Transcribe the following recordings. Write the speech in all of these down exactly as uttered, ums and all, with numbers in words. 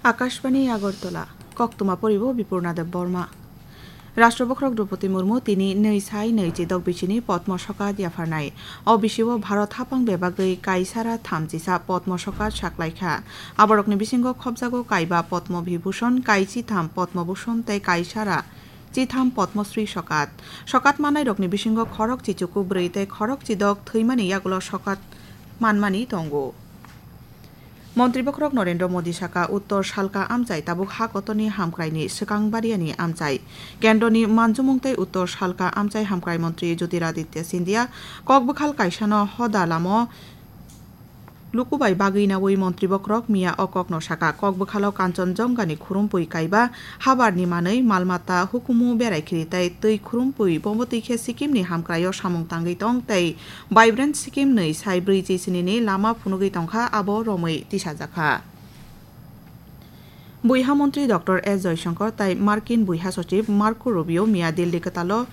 Akashbani Agartala, koktwma poribo Bipurna Deb Borma. Rashtra Bokhorok Droupadi Murmu tini nwi sai nwi chidok bisini Padma Sokat yapharnai. O bisio Bharat haphang bebagwi kaisara thamchisa Padma Sokat saklaikha. Aborokni bisingo khopjago kaiba Padma Vibhushan, kai chitham Padma Bhushan tei kaisara chitham Padma Shri Sokat. Sokat mannairokni bisingo khorok chichuku bwrwi tei khorok chidok thwimani yagulo sokat manmani tongo. Montri Bokhorok Narendra Modi saka Uttor Salka amchai tabuk ha kotorni hamkraini swkang bariani amchai. Kendroni manjumung tei Uttor Salka amchai hamkrai montri Jyotiraditya Scindia kokbwkhal kaisano hoda lamo lukubai bagwi naui Montri Bokhorok miya o kokno saka. Kokbwkhalo Kanchanjongani khurumpui kaiba habarni manwi malmata hukumu berai khiri tei twi khurumpui bomotwi khe Sikkimni hamkraio samung tangwi tong tei Vibrant Sikkim nwi sai brwi chisini ni lama phunugwi tongkha, abo romwi tisajakha. Buiha montri Doctor S Jaishankar tai Markin buiha sochib Marco Rubio miya Delhi kwtalo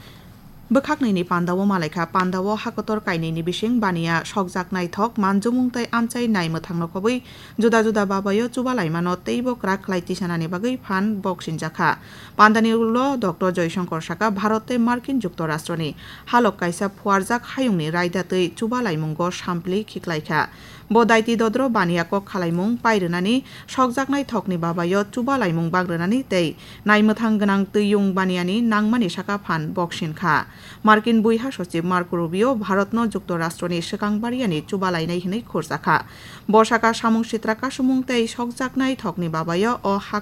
bwkhaknwi ni pandao malaikha. Pandao hakotor kainwi ni bising baniya sokjak naithok manjumung tei amchai nai mwthangno kobwi juda juda babayo chubalaimano teibo kwrak khlai tisanani bagwi phan boksinjakha. Pandani ulo Doctor Jaishankar saka Bharat tei Markin Juktorashtroni halok kaisa phuarjak hayungni raida twi chubalaimungo sampli khiklaikha. Bo daiti dodro baniya kok khalaimung pai rwnani, sokjaknai thokni babayo chubalaimung bang rwnani tei naimwthang gwnang twiyung baniyani nangmani saka phan boksin kha. Markin buiha sochib Marco Rubio Bharatno Juktorashtroni swkang bariyani chubalainai hwnwi khurjakha. Bo saka samung sitra kasumung tei sokjaknai thokni babayo o ha